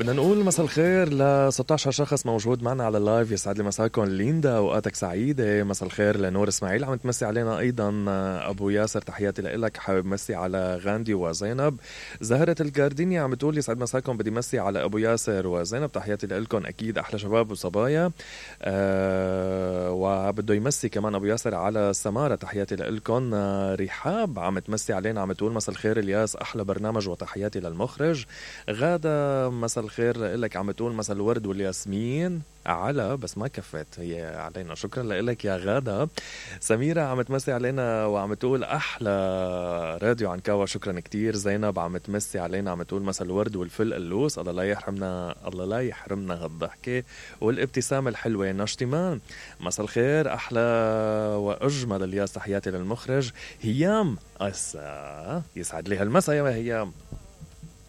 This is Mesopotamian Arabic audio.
بدنا نقول مساء الخير ل 16 شخص موجود معنا على اللايف. يسعد لي مساكم. ليندا اوقاتك سعيده. مساء الخير لنور اسماعيل عم تمسي علينا ايضا. ابو ياسر تحياتي لك. حابب مسي على غاندي وزينب. زهره الجاردينيا عم تقول يسعد مساكم، بدي مسي على ابو ياسر وزينب، تحياتي لكم اكيد احلى شباب وصبايا. وبده يمسي كمان ابو ياسر على سماره، تحياتي لكم. رحاب عم تمسي علينا، عم تقول مساء الخير الياس، احلى برنامج وتحياتي للمخرج. غاده مساء الخير لك، عم تقول مساء الورد والياسمين على، بس ما كفت هي علينا، شكرا لك يا غادة. سميرة عم تمسي علينا وعم تقول أحلى راديو عنكاوة، شكرا كتير. زينب عم تمسي علينا، عم تقول مساء الورد والفل اللوس، الله لا يحرمنا، الله لا يحرمنا هالضحكة والابتسامة الحلوة. ناشتمان مساء الخير، أحلى وأجمل الياس، تحياتي للمخرج. هيام يسعد لي هالمساء يا هيام.